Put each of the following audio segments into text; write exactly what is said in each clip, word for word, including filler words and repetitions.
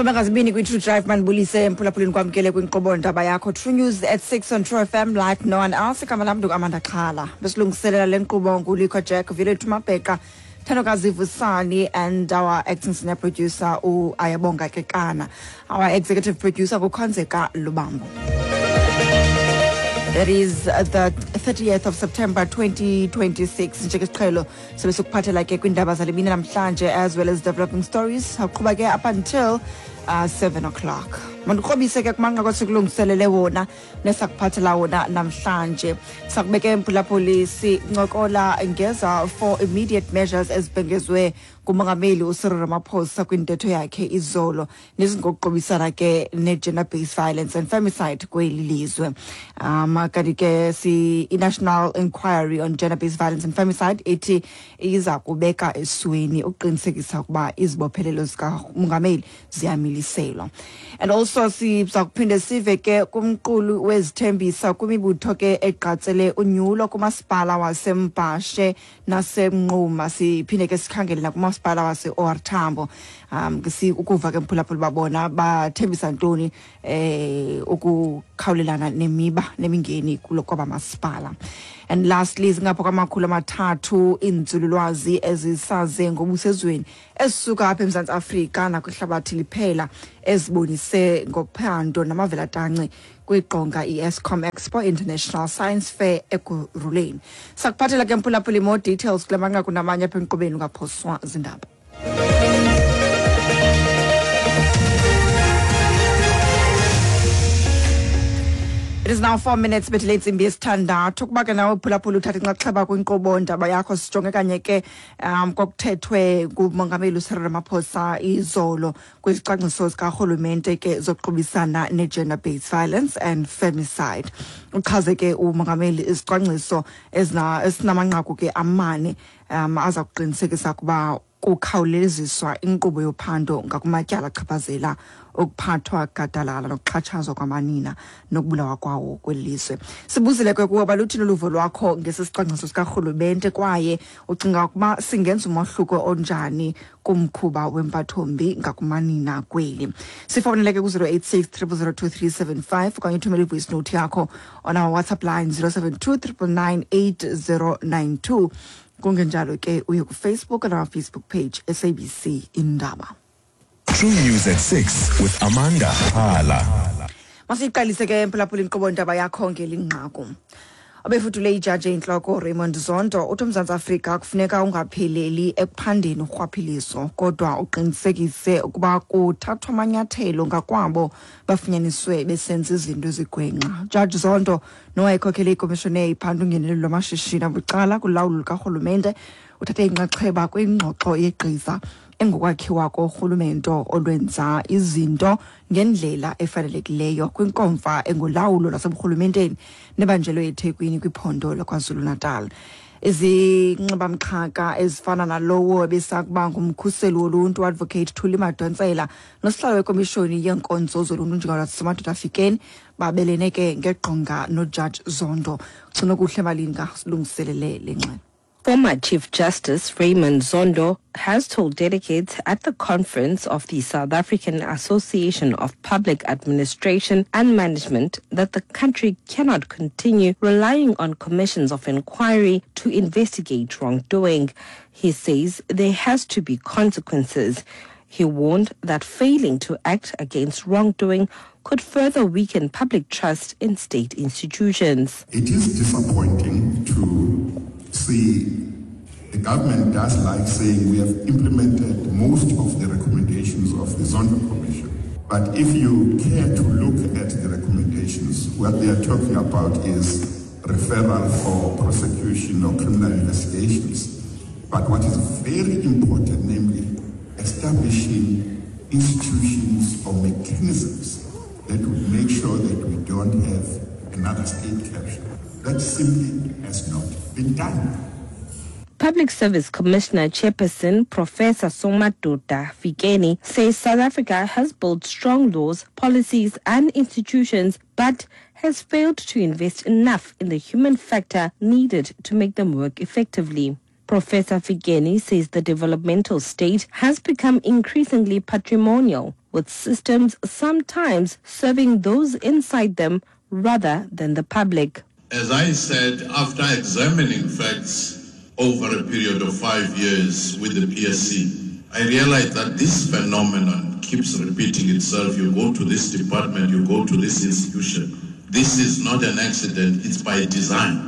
Somangazibini kwi True Drive manibulise emphulaphuleni kwamkele kwinkqubo ndaba yakho True News at six on True F M like no one else. Igama lam ngu-Amanda Xhala. Besilungiselela le nkqubo nguLikho Jack, Violet Mabheka, Thandokazi Vusani and our acting senior producer uAyabonga Kekana. Our executive producer nguKhonzeka Lubambo. That is the thirtieth of September twenty twenty-six. Njengesiqhelo sobe sikuphathela ke kwiindaba zale mini namhlanje as well as developing stories. Aqhuba ke up until uh, seven o'clock. Mandikrobise ke kumanqaku esikulungiselele wona nesakuphathela wona namhlanje. Sakubeke emphulaphuli sincokola ngeza for immediate measures ezibhengezwe ngumongameli uCyril Ramaphosa kwintetho yakhe izolo nezingokuqobisana ke ne-gender-based violence and femicide kweli lizwe. Um, kanti ke si i-National Inquiry on Gender-Based Violence and Femicide ithi iza kubeka esweni ukuqinisekisa ukuba izibophelelo zikamongameli ziyamiliselwa. And also siza kuphinde sive ke kumqulu wezithembisa kwimibutho ke egqatsele unyulo kumasipala waseMbhashe naseMnquma. Siphinde ke sikhangele nakumasipala wase-O R Tambo. Um, si ukuva ke mphulaphula babona bathembisa ntoni eh ukukhawulelana nemiba nemingeni kulo kwaba masipala. And lastly, zingapha kwamakhulu amathathu iinzululwazi ezisaze ngobusezweni ezisuka apha eMzantsi Afrika nakwihlabathi liphela ezibonise ngophando namavelatanci kwiqonga i-Eskom Expo International Science Fair Ekurhuleni. Sakuphathela ke mphulaphuli more details kule manqaku namanye apha enkqubeni ungaphoswa zindaba. It is now four minutes bethe intsimbi yesithandathu. Ukuba ke nawe phulaphula uthatha inxaxheba kwinkqubo ndaba yakho, sijonge kanye ke um kokuthethwe ngumongameli uCyril Ramaphosa izolo kwizicwangciso zikarhulumente ke zokuqubisana ne-gender-based violence and femicide. Uchaze ke umongameli izicwangciso ezinamanqaku ke amane um aza kuqinisekisa ukuba kukhawuleziswa inkqubo yophando ngakumatyala achaphazela ukuphathwa gadalala nokuxhatshazwa kwamanina nokubulawa kwawo kweli lizwe. Sibuzile ke kuba luthini uluvo lwakho ngesi sicwangciso sikarhulumente kwaye ucinga ukuba singenza umohluko onjani kumkhuba wempathombi ngakumanina kweli. Sifowunele ke ku-zero eight six triple zero two three seven five okanye uthumele i-voice note yakho on our WhatsApp line zero seven two triple nine eight zero nine two. Kungenjalo ke uye ku-Facebook and our Facebook page S A B C Indaba. True News at six with Amanda Xhala. Masiyiqalise ke mphulaphula inkqubo ndaba yakho ngelinqaku. Obefudule ijaji intloko Raymond Zondo uthi uMzantsi Afrika kufuneka ungapheleli ekuphandeni urhwaphilizo kodwa uqinisekise ukuba kuthathwa amanyathelo ngakwabo bafunyaniswe besenza izinto ezigwenxa. Judge Zondo nowayekhokhele ikomishoni ephanda ungenelelo lwamashishini abucala kulawulo lukarhulumente uthathe inxaxheba kwingxoxo yegqiza engokwakhiwa korhulumento olwenza izinto ngendlela efanelekileyo kwinkomfa engolawulo lwaseburhulumenteni nebanjelwe eThekwini kwiphondo laKwaZulu-Natal. Izinxibamxhaka ezifana nalowo ebesakuba ngumkhuseli woluntu Advocate Thuli Madonsela nosihlalo wekomishoni yeenkonzo zoluntu njengalasemadoda afikeni babelene ke ngeqonga noJudge Zondo. Gcinokuhle Malinga silungiselele le ngxelo. Former Chief Justice Raymond Zondo has told delegates at the conference of the South African Association of Public Administration and Management that the country cannot continue relying on commissions of inquiry to investigate wrongdoing. He says there has to be consequences. He warned that failing to act against wrongdoing could further weaken public trust in state institutions. It is disappointing to see the government does like saying we have implemented most of the recommendations of the Zondo Commission. But if you care to look at the recommendations, what they are talking about is referral for prosecution or criminal investigations. But what is very important, namely establishing institutions or mechanisms that would make sure that we don't have another state capture. That simply has not been done. Public Service Commissioner Chairperson Professor Somadoda Fikeni says South Africa has built strong laws, policies and institutions, but has failed to invest enough in the human factor needed to make them work effectively. Professor Fikeni says the developmental state has become increasingly patrimonial, with systems sometimes serving those inside them rather than the public. As I said, after examining facts over a period of five years with the P S C, I realized that this phenomenon keeps repeating itself. You go to this department, you go to this institution. This is not an accident, it's by design.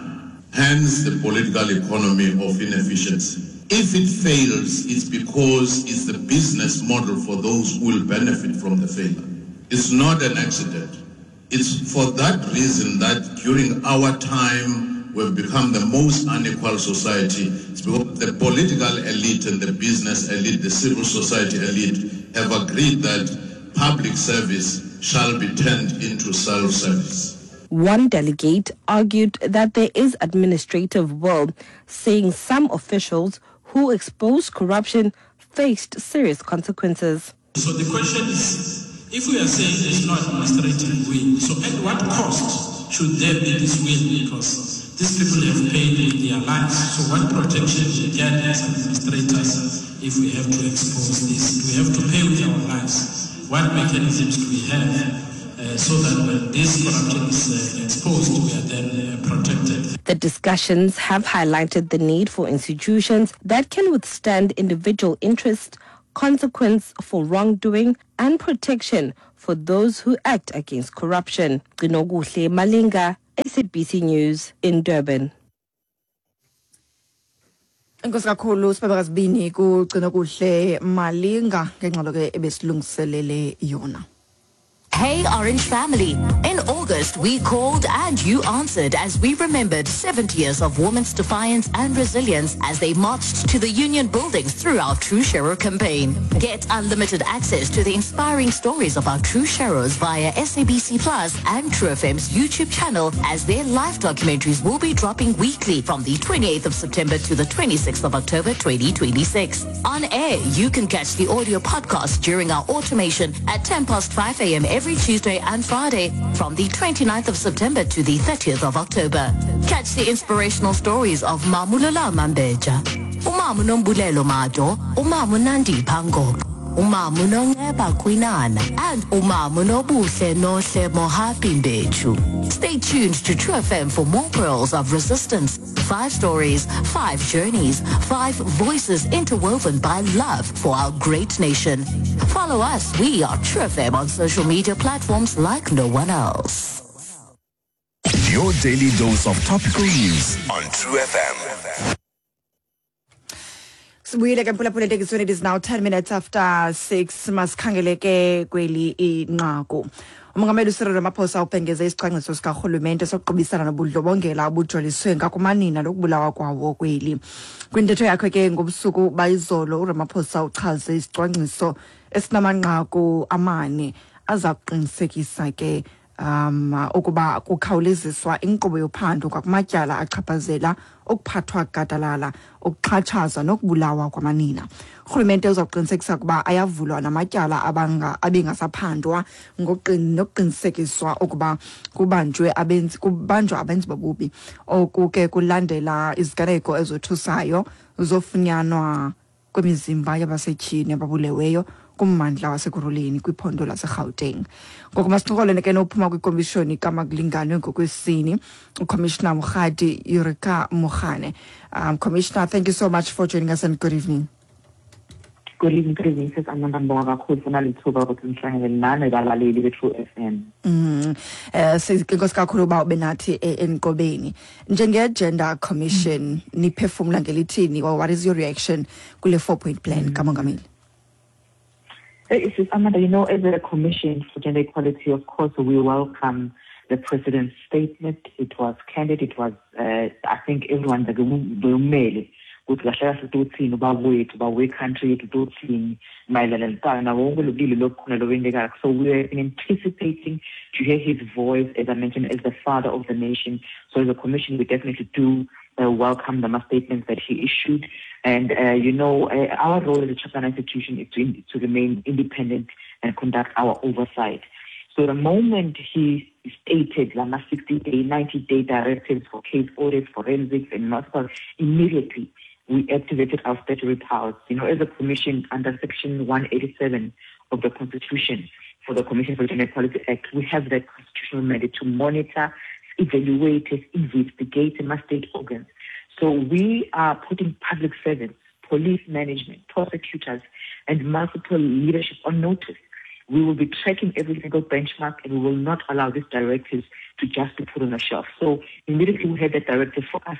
Hence the political economy of inefficiency. If it fails, it's because it's the business model for those who will benefit from the failure. It's not an accident. It's for that reason that during our time, we've become the most unequal society. It's because the political elite and the business elite, the civil society elite, have agreed that public service shall be turned into self-service. One delegate argued that there is administrative will, saying some officials who exposed corruption faced serious consequences. So the question is, if we are saying there's no administrative will, so at what cost should there be this will? Because these people have paid with their lives. So what protection do we get as administrators if we have to expose this? Do we have to pay with our lives? What mechanisms do we have uh, so that when this corruption is uh, exposed, we are then uh, protected? The discussions have highlighted the need for institutions that can withstand individual interest, consequence for wrongdoing, and protection for those who act against corruption. Gcinokuhle Malinga, S A B C News in Durban. Enkosi kakhulu sibabakazibini kuGcinokuhle Malinga ngengxelo ke ebesilungiselele yona. Hey Orange family, in August we called and you answered as we remembered seventy years of women's defiance and resilience as they marched to the union buildings through our True Sharer campaign. Get unlimited access to the inspiring stories of our True Sharers via S A B C Plus and True F M's YouTube channel, as their live documentaries will be dropping weekly from the twenty-eighth of September to the twenty-sixth of October twenty twenty-six. On air, you can catch the audio podcast during our automation at ten past five a.m. every Tuesday and Friday from the twenty-ninth of September to the thirtieth of October. Catch the inspirational stories of Mamulola Mambeja, Umamu Nombulelo Mado, Umamu Nandi Pango, Umamu Nongeba Kwinana, and Umamu Nobuhle Nohle Mohapi Mbechu. Stay tuned to True F M for more pearls of resistance. Five stories, five journeys, five voices interwoven by love for our great nation. Follow us. We are True F M on social media platforms like no one else. Your daily dose of topical news on True F M. Sibuyile ke mphulaphula etekisweni, it is now ten minutes after six. Masikhangele ke kweli inqaku. Umongameli uCyril Ramaphosa ubhengeze isicwangciso sikarhulumente sokuqubisana nobundlobongela obujoliswe ngakumanina nokubulawa kwawo kweli. Kwintetho yakhe ke ngobusuku bayizolo, uRamaphosa uchaze isicwangciso esinamanqaku amane aza kuqinisekisa ke um ukuba kukhawuleziswa inkqubo yophando kwakumatyala achaphazela ukuphathwa gadalala, ukuxhatshazwa nokubulawa kwamanina. Urhulumente uza kuqinisekisa ukuba ayavulwa namatyala abanga abengasaphandwa nokuqinisekiswa ukuba kubanjwe abenzi kubanjwa abenzi bobubi. Oku ke kulandela iziganeko ezothusayo zofunyanwa kwemizimba yabasetyhini ababuleweyo kummandla waseKurhuleni kwiphondo laseGauteng. Ngoku masincokole ke nophuma kwikomishoni kaMakulinganwe ngokwesini, uCommissioner Mokgadi Eureka Mogane. Um, Commissioner, thank you so much for joining us and good evening. Good evening, good evening. Sis Amanda, ngibonga kakhulu funa lithuba ukuthi ngihlangane nani balaleli be-True F M. Mm. Eh inkosi kakhulu uba ube nathi enqobeni. Njenge-Gender Commission, niphefumula ngelithini, or what is your reaction kule four-point plan kaMongameli? Hey, Sis Amanda, you know, as a Commission for Gender Equality, of course, we welcome the President's statement. It was candid. It was, uh, I think, everyone, the country, so we have been anticipating to hear his voice, as I mentioned, as the father of the nation. So as a commission, we definitely do uh, welcome the statements that he issued. And, uh, you know, uh, our role as a Chapter institution is to, to remain independent and conduct our oversight. So the moment he stated lama sixty-day, ninety-day directives for case audits, forensics, and multiple, immediately we activated our statutory powers. You know, as a commission under Section one eighty-seven of the Constitution for the Commission for Gender Equality Act, we have that constitutional mandate to monitor, evaluate, investigate state organs. So we are putting public servants, police management, prosecutors, and multiple leadership on notice. We will be tracking every single benchmark, and we will not allow these directives to just be put on a shelf. So immediately we had that directive for us,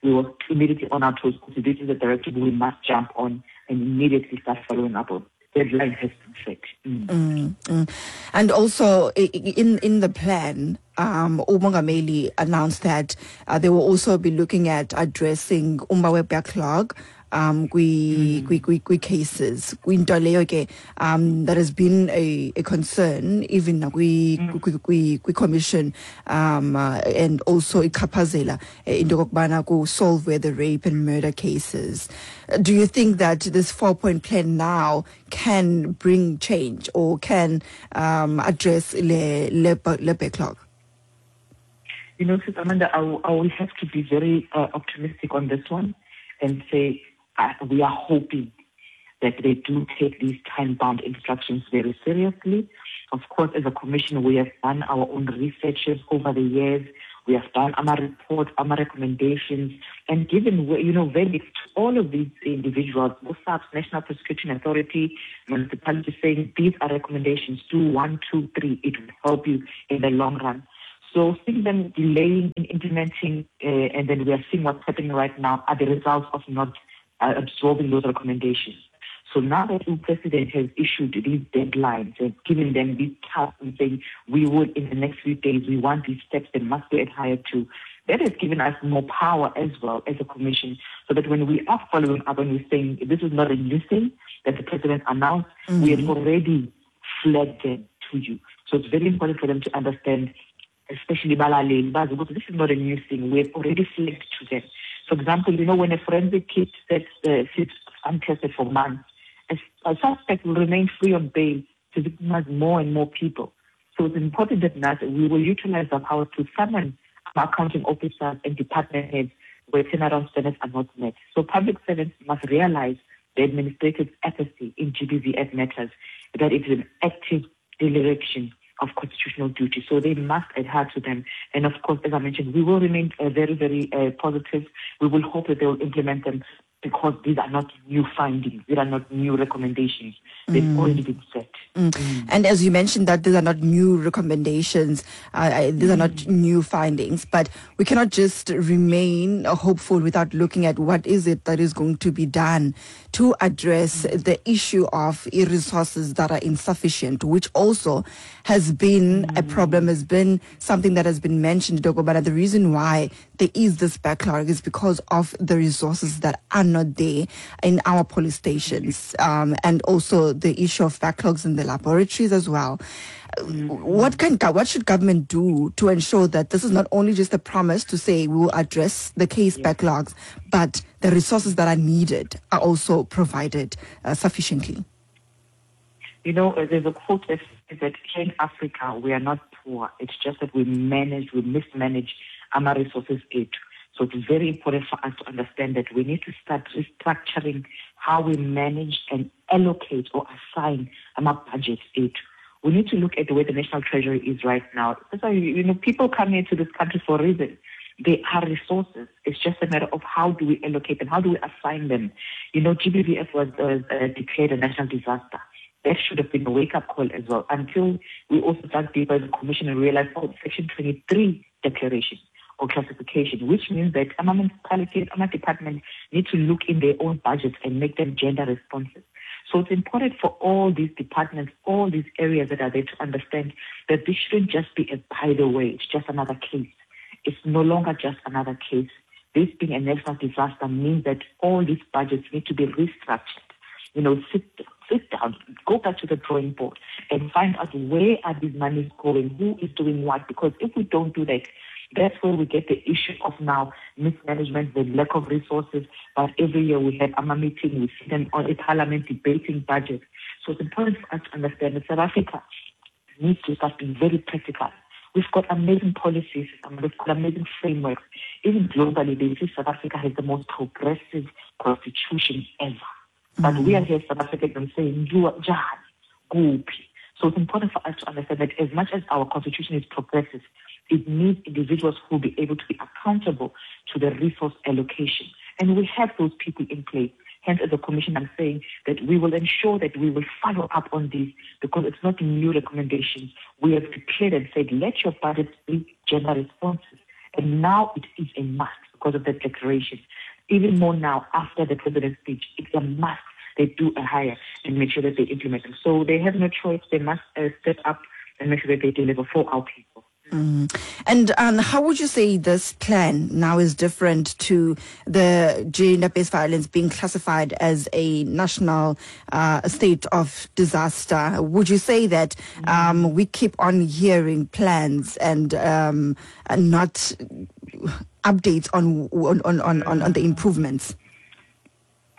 we were immediately on our toes because this is a directive we must jump on and immediately start following up on. Deadline has been set. Mm. Mm, mm. And also in, in the plan, um, uMongameli announced that uh, they will also be looking at addressing umba backlog, um, kwi, kwi, kwi, kwi cases. Kwinto leyo ke, um, that has been a, a concern even kwi, kwi, kwi, kwi commission, um, uh, and also ichaphazela into yokokubana ku solve where the rape and murder cases. Do you think that this four-point plan now can bring change or can, um, address le, le, le backlog? You know, Sister Amanda, I will, I will have to be very, uh, optimistic on this one and say, Uh, we are hoping that they do take these time-bound instructions very seriously. Of course, as a commission, we have done our own researches over the years. We have done our reports, our recommendations, and given, you know, verdicts to all of these individuals, B O S A P, National Prosecuting Authority, municipality, saying these are recommendations, do one, two, three. It will help you in the long run. So seeing them delaying in implementing, uh, and then we are seeing what's happening right now are the results of not Uh, absorbing those recommendations. So now that the president has issued these deadlines and given them these tasks and saying we would in the next few days, we want these steps that must be adhered to, that has given us more power as well as a commission, so that when we are following up and we're saying this is not a new thing that the president announced, mm-hmm. we had already flagged them to you. So it's very important for them to understand, especially Balaleli, because this is not a new thing. We have already flagged to them. For example, you know, when a forensic kit sits, uh, sits untested for months, a, a suspect will remain free on bail to victimize more and more people. So it's important that now we will utilize our power to summon our accounting officers and department heads where turnaround standards are not met. So public servants must realize the administrative apathy in G B V F matters, that it is an active dereliction of constitutional duty. So they must adhere to them. And of course, as I mentioned, we will remain, uh, very, very, uh, positive. We will hope that they will implement them, because these are not new findings. These are not new recommendations. They've mm. already been set. Mm. Mm. And as you mentioned that these are not new recommendations, uh, these are not mm. new findings, but we cannot just remain hopeful without looking at what is it that is going to be done to address mm. the issue of resources that are insufficient, which also has been mm. a problem, has been something that has been mentioned, Dogo. But the reason why there is this backlog is because of the resources that are not there in our police stations, um, and also the issue of backlogs in the laboratories as well. What can, what should government do to ensure that this is not only just a promise to say we will address the case yeah. backlogs, but the resources that are needed are also provided, uh, sufficiently? You know, there's a quote that says that here in Africa, we are not poor. It's just that we manage, we mismanage our resources. It. So it's very important for us to understand that we need to start restructuring how we manage and allocate or assign our budget aid. We need to look at the way the National Treasury is right now. That's why, you know, people come here to this country for a reason. They are resources. It's just a matter of how do we allocate them, how do we assign them. You know, G B V F was uh, uh, declared a national disaster. That should have been a wake-up call as well, until we also dug deeper as a commission and realized, oh, Section twenty-three declaration or classification, which means that our municipalities, our departments need to look in their own budgets and make them gender responsive. So it's important for all these departments, all these areas that are there to understand that this shouldn't just be a by the way, it's just another case. It's no longer just another case. This being a national disaster means that all these budgets need to be restructured. You know, sit, sit down, go back to the drawing board and find out where are these monies going, who is doing what, because if we don't do that, that's where we get the issue of now mismanagement, the lack of resources. But every year we have A M A meeting, we see them on a parliament debating budget. So it's important for us to understand that South Africa needs to start being very practical We've got amazing policies, and we've got amazing frameworks. Even globally, they say South Africa has the most progressive constitution ever. But mm-hmm. we are here, South Africans, saying, you are Jahani, So it's important for us to understand that as much as our constitution is progressive, it needs individuals who will be able to be accountable to the resource allocation. And we have those people in place. Hence, as a commission, I'm saying that we will ensure that we will follow up on these, because it's not new recommendations. We have declared and said, let your budget be gender responsive. And now it is a must because of that declaration. Even more now, after the president's speech, it's a must. They do a hire and make sure that they implement them. So they have no choice. They must uh, step up and make sure that they deliver for our people. Mm. And um, how would you say this plan now is different to the gender-based violence being classified as a national uh, state of disaster? Would you say that um, we keep on hearing plans and, um, and not updates on on, on, on, on the improvements?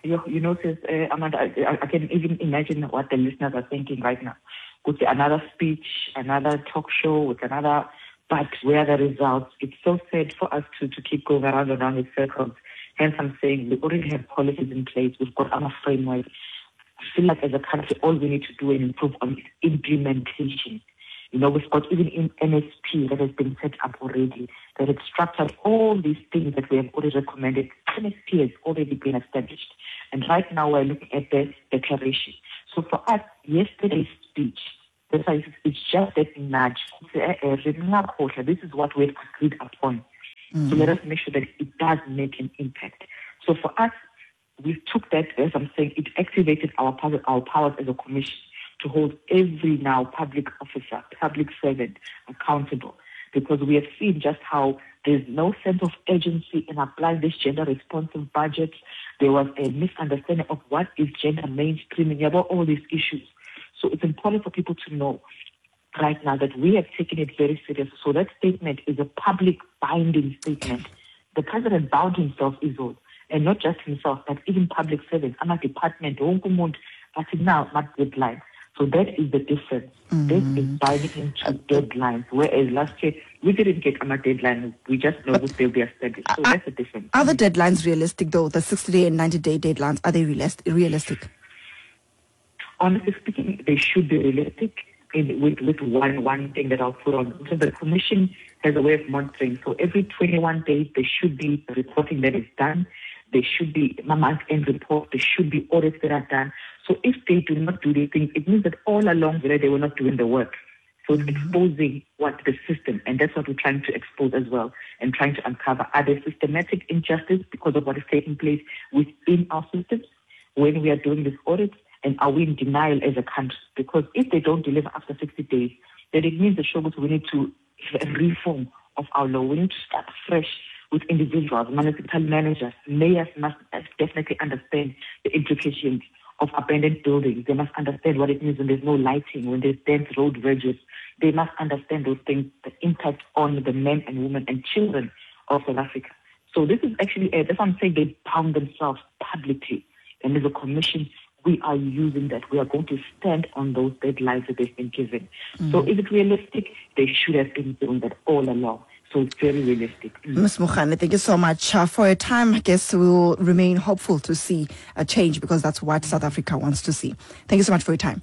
You, you notice, uh, Amanda, I, I can even imagine what the listeners are thinking right now. Could be another speech, another talk show with another, but where are the results? It's so sad for us to, to keep going around and around in circles. Hence, I'm saying we already have policies in place. We've got our framework. I feel like as a country, all we need to do and improve on is implementation. You know, we've got even in N S P that has been set up already, that has structured all these things that we have already recommended. N S P has already been established. And right now we're looking at the declaration. So for us, yesterday's speech, it's just that nudge. This is what we've agreed upon. Mm. So let us make sure that it does make an impact. So for us, we took that, as I'm saying, it activated our, our powers as a commission to hold every now public officer, public servant accountable, because we have seen just how there's no sense of urgency in applying this gender-responsive budget. There was a misunderstanding of what is gender mainstreaming, about all these issues. So it's important for people to know right now that we have taken it very serious. So that statement is a public binding statement. The president bound himself, Izolo, and not just himself, but even public servants, our department, but now, not deadlines. So that is the difference. Mm. This is binding into deadlines, whereas last year we didn't get our deadline. We just know that they'll be established. So are, that's the difference. Are the deadlines realistic, though? The sixty-day and ninety-day deadlines, are they realistic? Honestly speaking, they should be realistic in, with, with one, one thing that I'll put on. So the commission has a way of monitoring. So every twenty-one days, there should be reporting that is done. There should be month-end reports. There should be audits that are done. So if they do not do these things, it means that all along they were not doing the work. So it's exposing what the system, and that's what we're trying to expose as well, and trying to uncover. Are there systematic injustice because of what is taking place within our systems when we are doing these audits? And are we in denial as a country? Because if they don't deliver after sixty days, then it means the shows we need to have a reform of our law. We need to start fresh with individuals, municipal managers, mayors must definitely understand the implications of abandoned buildings. They must understand what it means when there's no lighting, when there's dense road verges. They must understand those things, the impact on the men and women and children of South Africa. So this is actually, uh, that's what I'm saying, they bound themselves publicly. And there's a commission, we are using that. We are going to stand on those deadlines that they've been given. Mm. So is it realistic? They should have been doing that all along. So it's very realistic. Mm. Miz Mogane, thank you so much uh, for your time. I guess we'll remain hopeful to see a change, because that's what South Africa wants to see. Thank you so much for your time.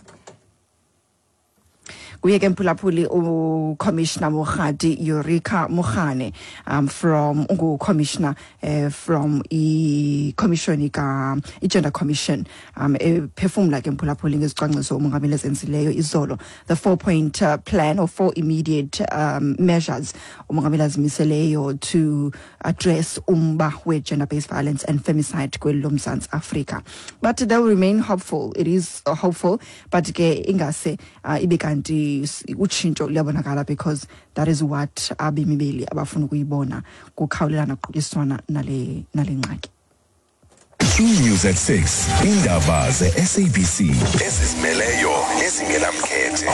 Kuye ke mphulaphuli uCommissioner Mokgadi Eureka Mogane, um, from ungu-commissioner uh, from i-commission ka i-Gender Commission, um ephefumla ke mphulaphuli ngezicwangciso umongameli ezenzileyo izolo, the four point uh, plan or four immediate um, measures umongameli azimiseleyo to address umba we-gender-based violence and femicide kweli loMzantsi Afrika. But they'll remain hopeful. It is uh, hopeful, but ke ingase uh, ibe kanti utshintsho luyabonakala, because that is what abemi beli abafuna ukuyibona kukhawulelana kuqubiswana nale nale ngxaki. True News at six. Indaba ze-S A B C ezizimeleyo ezingenamkhethe.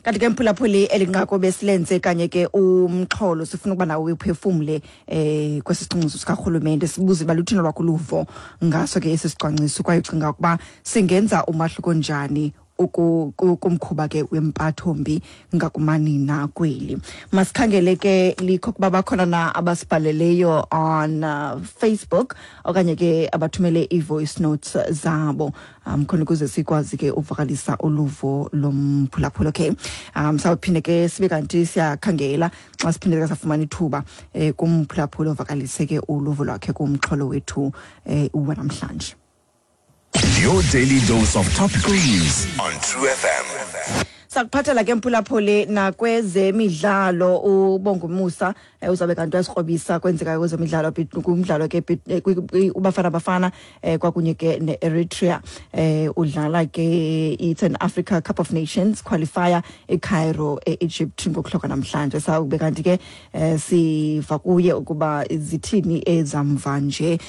Kanti ke mphulaphuli eli nqaku besilenze kanye ke umxholo sifuna ukuba nawe uphefumle eh kwesi sicwangciso sikarhulumente, sibuze uba luthini lwakho uluvo ngaso ke esi sicwangciso, kwaye ucinga ukuba singenza umahluko njani kumkhuba ke wempatho-mbi ngakumanina kweli. Masikhangele ke likho kuba bakhona na abasibhaleleyo on uh, Facebook okanye ke abathumele i-voice notes zabo um khona ukuze sikwazi ke uvakalisa uluvo lomphulaphula. Okay, um sawuphinde ke sibe kanti siyakhangela xa siphinde ke safumana ithuba eh, kumphulaphula ovakalise ke uluvo lwakhe kumxholo wethu eh, wanamhlanje. Your daily dose of topical news on True F M. Sakuphathela ke mphulaphuli nakwezemidlalo uBongumusa uzabe kanti uyasikrobisa kwenzeka kwezemidlalo kumdlalo ke uBafana Bafana kwakunye ke ne-Eritrea udlala ke it's an Africa Cup of Nations qualifier eCairo e-Egypt ngokuhloka namhlanje. Sawube kanti ke siva kuye ukuba zithini ezamva nje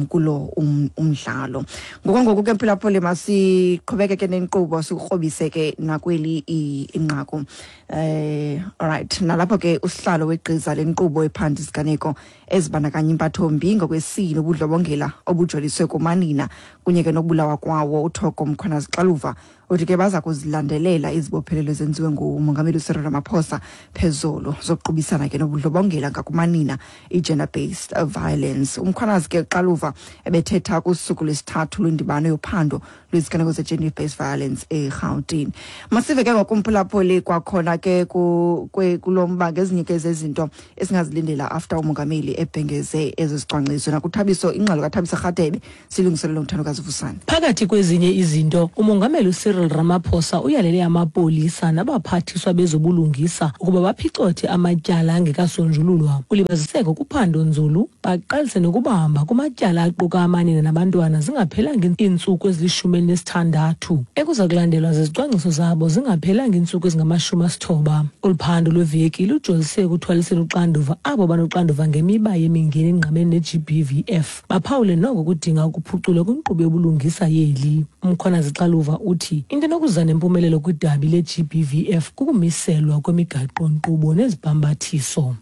kulo umdlalo. Ngoku ke mphulaphuli masiqhubeke ke nenkqubo sikrobise ke nakweli inqaku. Eh alright, nalapho ke usihlalo wegqiza lenkqubo ephanda isiganeko ezibandakanya impathombi ngokwesini ubudlobongela obujoliswe kumanina kunye ke nokubulawa kwawo uThoko Mkhwanazi Xaluva uthi ke baza kuzilandelela izibophelelo ezenziwe ngumongameli uCyril Ramaphosa phezulu zokuqubisana ke nobudlobongela ngakumanina i-gender based violence. UMkhwanazi ke Xaluva ebethetha kusuku lwesithathu lwendibano yophando lweziganeko ze-gender based violence eGauteng. Masive ke ngokumphulaphuli kwakhona ke kulo mba ngezinye ke zezinto esingazilindela after umongameli ebhengeze ezizicwangciso. Nakuthabiso ingxelo kaThabiso Rhadebe silungiselelo nguthandokazi Vusani. Phakathi kwezinye izinto umongameli Cyril Ramaphosa uyalele amapolisa nabaphathiswa bezobulungisa ukuba baphicothe amatyala angekasonjululwa. Ulibaziseko kuphando nzulu baqalise nokubamba kumatyala aquka amanina nabantwana zingaphelanga iintsuku ezilishumi elinesithandathu. Ekuza kulandelwa zizicwangciso zabo zingaphelanga iintsuku ezingamashumi asithoba. Olu phando lweveki lujolise ekuthwaliseni uxanduva abo banoxanduva ngemiba yemingeni engqamene ne-G B V F. Baphawule noko kudinga ukuphuculwa kwinkqubo yobulungisa yeli. UMkhwanazi Xaluva uthi into enokuza nempumelelo kwidabi le-G B V F kukumiselwa kwemigaqo-nkqubo nezibhambathiso.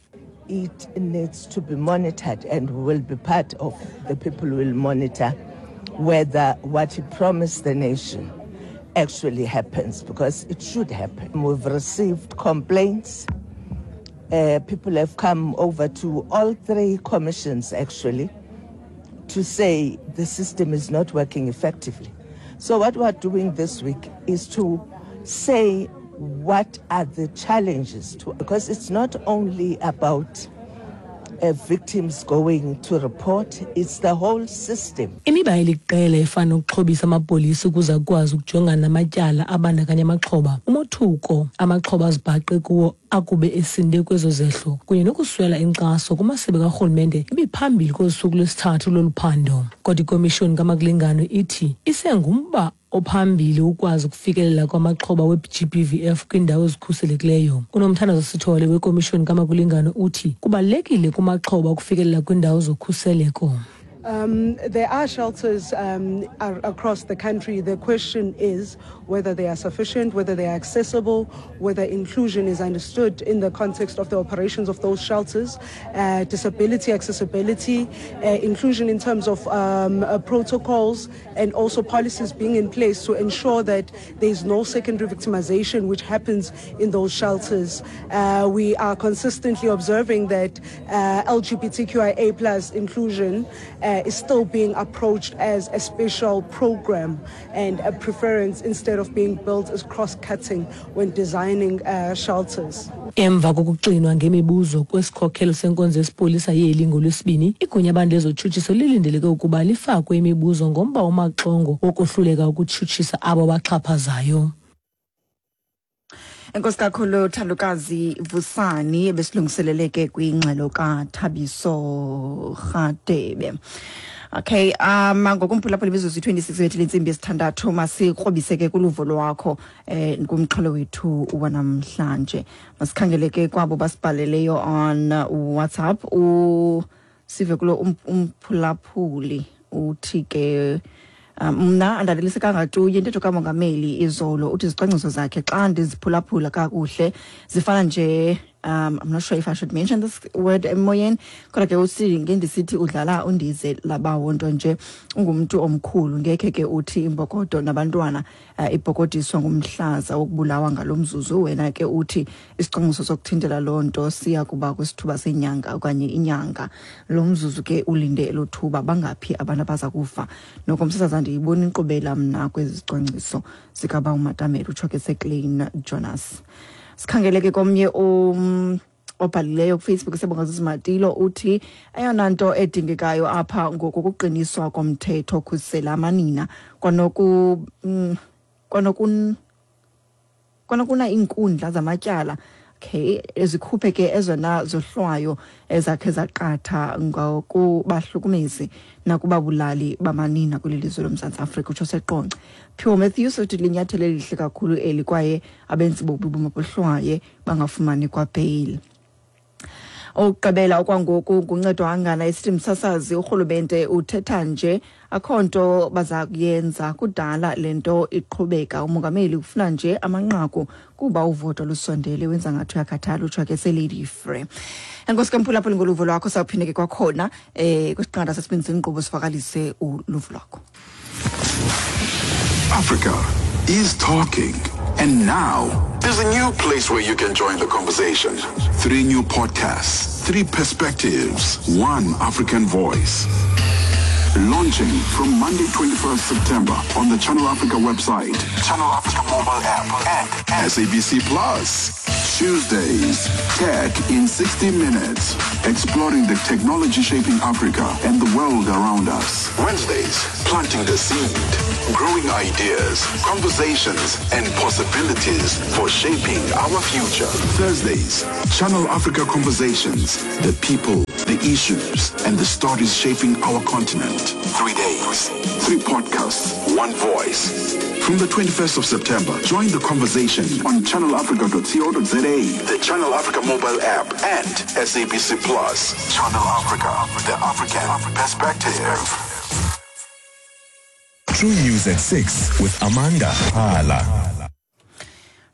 It needs to be monitored and will be part of the people who will monitor whether what he promised the nation actually happens, because it should happen. We've received complaints. Uh, people have come over to all three commissions actually to say the system is not working effectively. So what we're doing this week is to say what are the challenges, to, because it's not only about uh, victims going to report, it's the whole system. Imiba eliqela efana nokuxhobisa amapolisa ukuze akwazi ukujongana namatyala abandakanya amaxhoba, umothuko amaxhoba azibhaqe kuwo akube esinde kwezo zehlo kunye nokuswela inkxaso kumasebe karhulumente ibiphambili kosuku lwesithathu lolu phando. Kodwa ikomishoni kaMakulingano ithi isengumba ophambili ukwazi ukufikelela kwamaxhoba we-G B V F kwiindawo ezikhuselekileyo. UNomthandazo Sithole wekomishoni kaMakulingano uthi kubalulekile kumaxhoba ukufikelela kwiindawo zokhuseleko. Um, there are shelters um, across the country. The question is whether they are sufficient, whether they are accessible, whether inclusion is understood in the context of the operations of those shelters, uh, disability accessibility, uh, inclusion in terms of um, uh, protocols and also policies being in place to ensure that there is no secondary victimization which happens in those shelters. Uh, we are consistently observing that uh, L G B T Q I A plus inclusion Uh, is still being approached as a special program and a preference instead of being built as cross-cutting when designing uh, shelters. Emva kokuxinwa ngemibuzo kwesikhokhelo senkonzo yesipolisa yeli ngolwesibini, igunya abantu lezotshutshiso lilindeleke ukuba lifakwe imibuzo ngomba omaxongo wokohluleka ukutshutshisa abo baxhaphazayo. Enkosi kakhulu Thandokazi Vusani ebesilungiselele ke kwingxelo kaThabiso Rhadebe. Okay, um ngokumphulaphula imizuzu twenty-six wethu lentsimbi yesithandathu masikrobise ke kuluvo lwakho eh kumxholo wethu wanamhlanje. Masikhangele ke kwabo basibhaleleyo on WhatsApp. U sive kulo umphulaphuli uthi ke mna andalelise kangatuye intetho kamongameli izolo uthi izicwangciso zakhe xa ndiziphulaphula kakuhle zifana nje Um, I'm not sure if I should mention this word emoyeni, kodwa ke uthi ngendisithi udlala undize labawo nto nje ungumntu omkhulu, ngekhe ke uthi imbokodo nabantwana uh, ibhokodiswa ngumhlaza wokubulawa ngalomzuzu. Wena ke uthi isicwangciso sokuthintela loo nto siya kuba kwisithuba senyanga okanye inyanga. Lo mzuzu ke ulinde elo thuba, bangaphi abantu abaza kufa? Noko msasazi andiyiboni inkqubela mna kwezi zicwangciso zikaba uMatamela, utsho ke seClean Jonas. Sikhangeleke komnye um obhalileyo kuFacebook, Siyabonga Zizimatilo, uthi eyona nto edingekayo apha ngoku kuqiniswa komthetho okhusela amanina kwanoku mm, kwanokun kwanokuna iinkundla zamatyala, okay, ezikhuphe ke ezona zohlwayo ezakhe zaqatha ngokubahlukumezi nakubabulali bamanina kweli lizwe loMzantsi Afrika, utsho seQonce. Pure Matthews uthi linyathelo elihle kakhulu eli, kwaye abenzi bobubi mabohlwaye bangafumani kwabheyili. Okugqibela okwangoku nguncedo angana esithi msasazi urhulumente uthetha nje akho nto baza kuyenza, kudala le nto iqhubeka, umongameli ufuna nje amanqaku kuba uvoto lusondele, wenza ngathi uyakhathala, utsho ke seLady Free. Enkosi ke mphulaphuli ngoluvo lwakho, sawuphinde ke kwakhona eh kwisiqanda sesibini senkqubo sivakalise uluvo lwakho. Africa is talking. And now, there's a new place where you can join the conversation. Three new podcasts, three perspectives, one African voice. Launching from Monday twenty-first September on the Channel Africa website, Channel Africa mobile app, and S A B C Plus. Tuesdays, Tech in sixty minutes, exploring the technology shaping Africa and the world around us. Wednesdays, planting the seed, growing ideas, conversations, and possibilities for shaping our future. Thursdays, Channel Africa Conversations, the people, the issues, and the stories shaping our continent. Three days, three podcasts, one voice. From the twenty-first of September, join the conversation on channel africa dot co dot za, the Channel Africa mobile app, and S A B C Plus. Channel Africa, the African perspective. True News at six with Amanda Hala.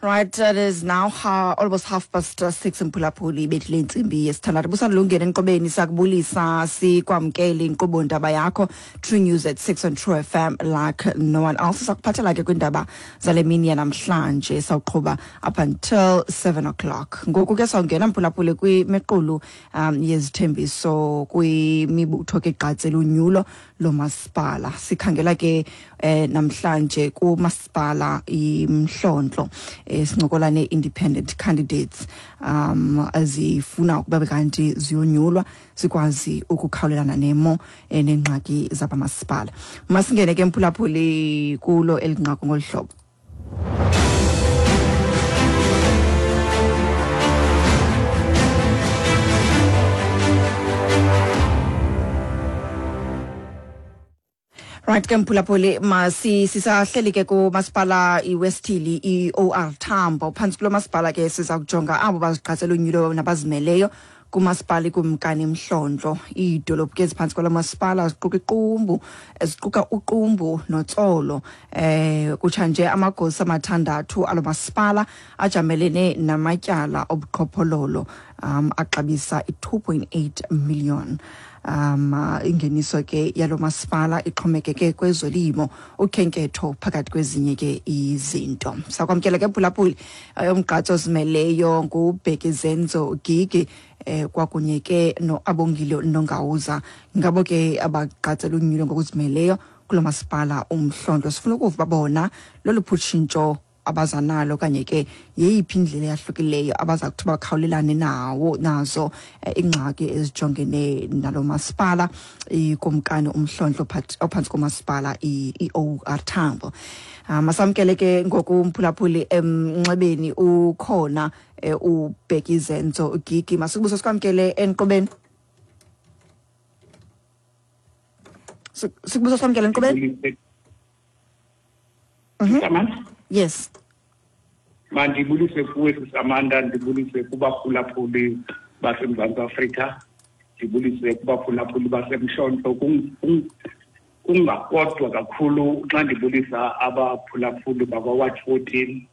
Right, it is now ha, almost half past six in Pulapuli, bethile intsimbi yesithandathu. Busalungene enqobeni, sakubulisa sikwamkele inkqubo ndaba yakho True News at six on True F M like no one else. Sakuphathela ke kwindaba zale mini yanamhlanje, sawuqhuba up until seven o'clock. Ngoku ke sawungena Mphulaphuli kwimiqulu um yezithembiso kwimibutho ke gqatsela unyulo lomasipala. Sikhangela ke eh, namhlanje kumasipala iMhlontlo, sincokola ne-independent candidates um ezifuna ukuba kanti ziyonyulwa zikwazi ukukhawulelana nemo nengxaki zabamasipala. Masingene ke mphulaphuli kulo elinqaku ngolu hlobo. Right ke mphulaphuli, masi sisahleli ke kumasipala iWest Hill i-O R Tambo. Phantsi kulo masipala ke siza kujonga abo bazigqatsela unyulo nabazimeleyo kumasipala iKumkani Mhlontlo. Iidolophu ke eziphantsi kwalo masipala ziquka iQumbu, ziquka uQumbu noTsolo. Eh kutsha nje amagosa amathandathu alo masipala ajamelene namatyala obuqhophololo um axabisa i-two point eight million. Um ingeniso ke yalo masipala ixhomekeke kwezolimo, ukhenketho phakathi kwezinye ke izinto. Sakwamkela ke Phulaphuli umgqatso ozimeleyo nguBheki Zenzo Gigi eh kwakunye ke noAbongile Nongawuza, ngabo ke abagqatsela unyulo ngokuzimeleyo kulo masipala uMhlontlo. Sifuna ukuva bona lolu phutshintsho abazanalo okanye ke yeyiphi indlela eyahlukileyo abaza kuthi bakhawulelane nawo nazo ingxaki ezijongene nalo masipala iKumkani uMhlontlo ophantsi komasipala i-O R Tambo. Masamkele ke ngoku umphulaphuli emnxebeni ukhona uBheki Zenzo Gigi. Masikubuso sikwamkele enqobeni. Sikubuso sikwamkele enqobeni. Mhm. Yes. Mandibulise kuwe Amanda, ndibulise kubaphulaphuli baseMzantsi Afrika, ndibulise kubaphulaphuli baseMhlontlo. Kungakodwa kakhulu xa ndibulisa abaphulaphuli bakwa-Ward fourteen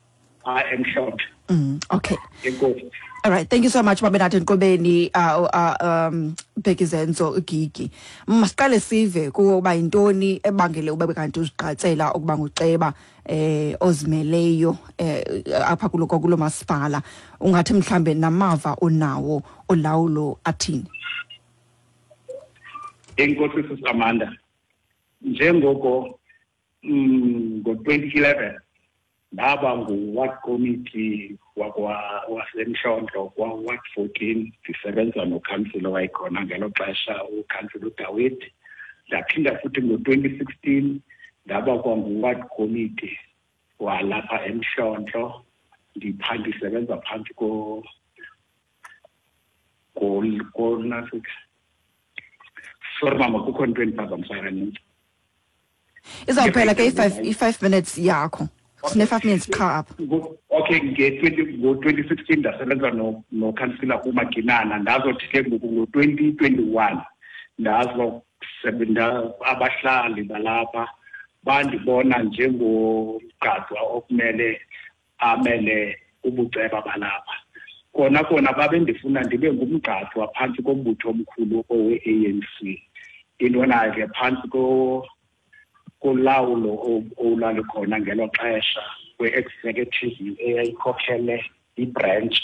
Phaa eMhlontlo. mm, okay Enkosi. All right, thank you so much, babe, nathi enkqubeni. uh, uh, um Bhekizenzo Gigi. Masiqale sive kuba yintoni ebangele ube kanti uzigqatsela ukuba nguceba eh ozimeleyo eh apha kulo kulo masipala. Ungathi mhlambe namava onawo olawulo athini? Enkosi, Sisamanda. Njengoko mm, ngo-twenty eleven ndaba ngu-ward committee wakwa waseMhlontlo kwa-ward fourteen, ndisebenza nokhansila owayekhona ngelo xesha, ukhansila uDawid. Ndaphinda futhi ngo-twenty sixteen ndaba kwangu-ward committee walapha eMhlontlo, ndipha ndisebenza phantsi ko ko ko nasika. Sorry mama, kukho into endiphazamisayo kanintsi. Izawuphela ke i-five i-five minutes yakho. Sine-five minutes qha apha. Ngo- okay nge-twenty ngo-twenty sixteen ndasebenza no- nokhansila uMaginana. Ndazothi ke ngoku ngo-twenty twenty-one ndazosebenza, abahlali balapha bandibona njengomgqatswa okumele amele ubuceba balapha. Kona kona babendifuna ndibe ngumgqatswa phantsi kombutho omkhulu owe-A N C. Intona ke phantsi ko kolawulo olwalukhona ngelo xesha kwe-executive eyayikhokhele ibranch,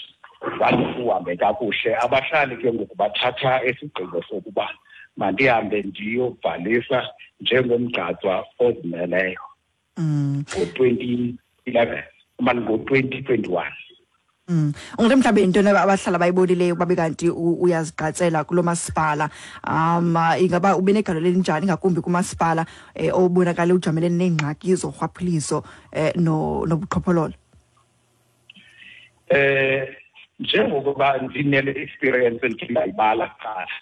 zange kuhambe kakuhle. Abahlali ke ngoku bathatha isigqibo sokuba mandihambe ndiyobhalisa njengomgqatswa ozimeleyo Mm. ngo-twenty eleven mani ngo-twenty twenty-one. Mm. Ungathi mhlawumbe yintoni abahlala bayibonileyo babe kanti u- uyazigqatsela kulo masipala? Um ingaba ube negalelo elinjani, ngakumbi kumasipala eh, obonakala ujamelene neengxaki zorhwaphilizo eh, no nobuqhophololo? eh njengokuba ndinele experience endikhe ndayibala kuqala.